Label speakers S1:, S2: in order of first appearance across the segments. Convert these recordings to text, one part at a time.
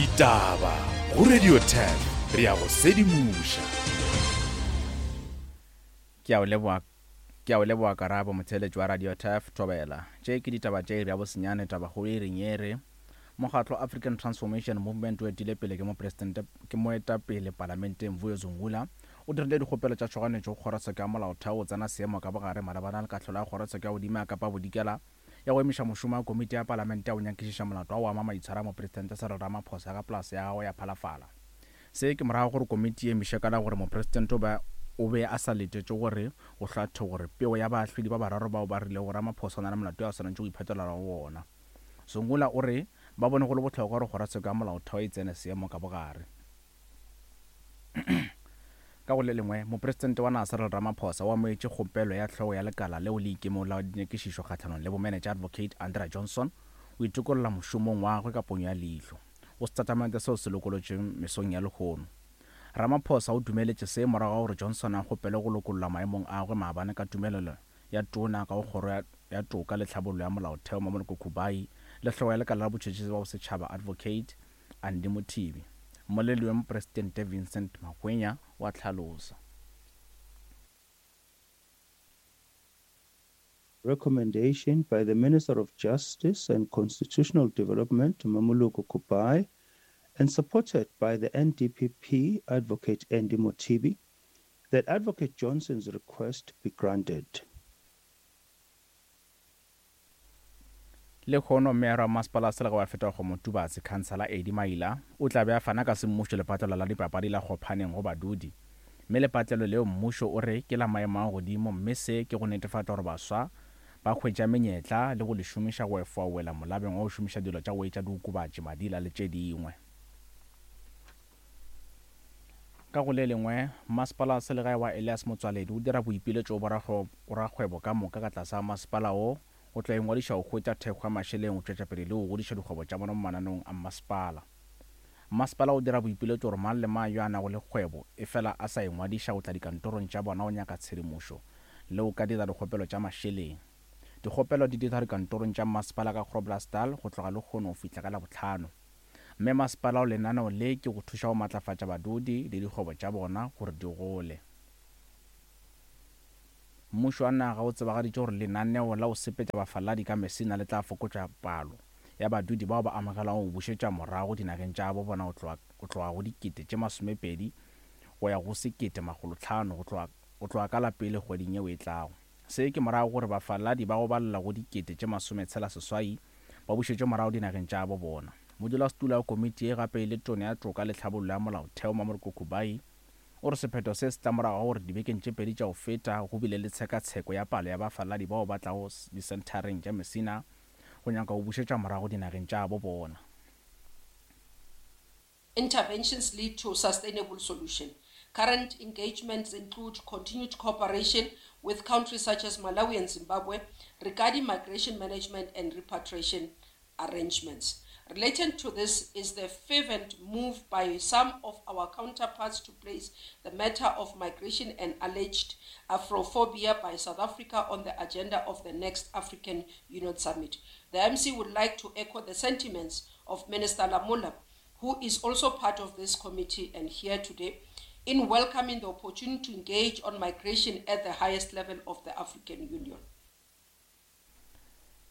S1: Ditaba go Radio 10 re a go sedimoša.
S2: Ke a o leboga Ke a o leboga Karabo, motheeletši wa Radio Turf, Thobela. Tše ke ditaba tša iri ya bosenyane, tabakgolo e reng ye re, Mokgatlo African Transformation Movement o etile pele ke mopresidente ke moetapele palamenteng Vuyo Zungula o dirile dikgopelo tša tšhoganetšo go kgorotsheko ya molaotheo go tsena seemo ka bogare malebana le kahlolo ya kgorotsheko ya godimo ya Kapa Bodikela ya go emiša mošomo wa komiti ya palamente ya go nyakišiša molato wa go ama maitshwaro a mopresidente Cyril Ramaphosa ka polase ya gagwe ya Phalafala. Se ke morago gore komiti e emiše ka la gore mopresidente o be o be a sa letetše gore go hlathwe gore pego ya baahlodi ba bararo bao ba rilego Ramaphosa o na le molato yo a swanetše go iphetolela go wona. Zungula o re ba bone go le bohlokwa gore kgorotsheko ya molaotheo e tsene seemo ka bogare. Ka go le lengwe, Mopresidente wa naga Cyril Ramaphosa o amogetše kgopelo ya hlogo ya lekala leo le ikemego la dinyakišišo kgahlanong le bomenetša Advocate Andrea Johnson go itokolla mošomong wa gagwe ka ponyo ya leihlo go setatamente seo se lokolotšweng mesong ya lehono. Ramaphosa o dumeletše se morago ga gore Johnson a kgopele go lokollwa maemong a gagwe maabane ka tumelelo ya Tona ka go Kgoro ya Toka le Tlhabollo ya Molaotheo Mamoloko Kubayi le hlogo ya lekala la botšhotšhisi ba bosetšhaba Advocate Andy Mothibi. Mmoledi wa Mopresidente Vincent Magwenya o a hlalosa.
S3: Recommendation by the Minister of Justice and Constitutional Development, Mamoloko Kubayi, and supported by the NDPP Advocate Andy Mothibi, that Advocate Johnson's request be granted.
S2: Lehono, Meyara wa Masepala wa Selegae wa Fetakgomo Tubatse, Khansala Eddie Maila, o tla be a fana ka semmušo lepatlelo la dipapadi la Kgophaneng go badudi. Mme lepatlelo leo mmušo o re ke la maemo a godimo mme se ke go netefatša gore baswa ba hwetša menyetla le go le šomiša go efoa wela molabeng wa go šomiša dilo tša go etša diokobatši, madila le tše dingwe. Ka go le lengwe, Masepala wa Selegae wa Elias Motsoaledi o dira boipiletšo go borakgwebo ka moka ka tlase ga masepala wo go tla ingwadiša go hwetša thekgo ya mašeleng go tšwetša pele le go godiša dikgwebo tša bona mo mananeong a mmasepala. Mmasepala o dira boipiletšo gore mang le mang yo a nago le kgwebo efela a sa ingwadiša go tla dikantorong tša bona go nyaka tshedimošo le go ka dira dikgopelo tša mašeleng. Dikgopelo di dirwa dikantorong tša mmasepala ka Groblersdal go tloga lehono go fihla ka Labohlano. Mme masepala o lenaneo le ke go thuša go matlafatša badudi le dikgwebo tša bona gore di gole. Mmušo wa naga o tsebagaditše gore lenaneo la go sepetša bafaladi ka Messina le tla fokotša palo ya badudi bao ba amogelwago go bušetšwa morago dinageng tša gabo bona go tloga go tloga go dikete tše masomepedi go ya go 1500 go tloga go tloga ka la pele kgweding yeo e tlago. Se ke morago gore bafaladi ba go balela go dikete tše masometshela seswai ba bušetšwe morago dinageng tša gabo bona. Modulasetulo wa komiti ye gape e le Tona ya Toka le Tlhabollo ya Molaotheo Mamoloko Kubayi o re sephetho se se tla morago ga gore dibekeng tše pedi tša go feta go bile le tshekatsheko ya palo ya bafaladi bao ba tlago disenthareng tša Messina go nyaka go bušetšwa morago dinageng tša gabo bona.
S4: Interventions lead to sustainable solution. Current engagements include continued cooperation with countries such as Malawi and Zimbabwe regarding migration management and repatriation arrangements. Related to this is the fervent move by some of our counterparts to place the matter of migration and alleged Afrophobia by South Africa on the agenda of the next African Union Summit. The MC would like to echo the sentiments of Minister Lamola, who is also part of this committee and here today, in welcoming the opportunity to engage on migration at the highest level of the African Union.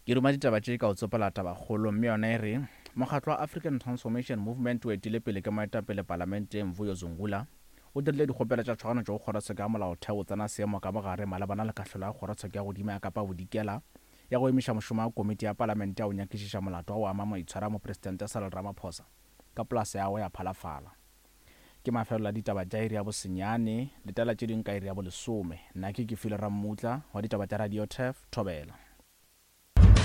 S2: Ke ruma ditaba tše ka go tsopola tabakgolo mme yona e re, Mokgatlo wa African Transformation Movement o etile pele ke moetapele palamenteng Vuyo Zungula o dirile dikgopelo tša tshwaganetšo go kgorotsheko ya molaotheo go tsena seemo ka bogare malebana le kahlolo ya kgorotsheko ya godimo ya Kapa Bodikela ya go emiša mošomo wa komiti ya palamente ya go nyakišiša molato wa go ama maitshwaro a Mopresidente Cyril Ramaphosa ka polase ya gagwe ya Phalafala. Ke mafelelo a ditaba tša iri ya bosenyane, letela tše dingwe ka iri ya bolesome. Nna ke Kefilwe Rammutla, wa ditaba tša Radio Turf, Thobela.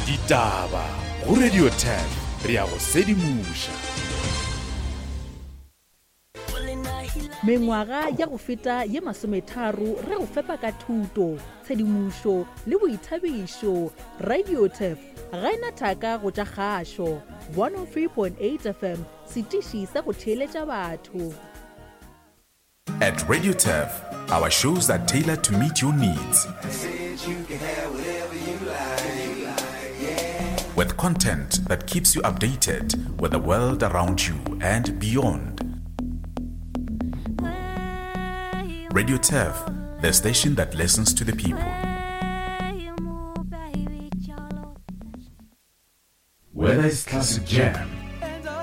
S1: Ditaba go Radio Turf, re a go sedimoša.
S5: Mengwaga ya go feta ye masometharo re go fepa ka thuto, tshedimošo le boithabišo. Radio Turf ga e na thaka go tša kgašo. 103.8 FM, setiši sa go theeletša batho.
S1: At Radio Turf, our shows are tailored to meet your needs. With Content that keeps you updated with the world around you and beyond. Radio Turf, the station that listens to the people. Whether it's classic jam,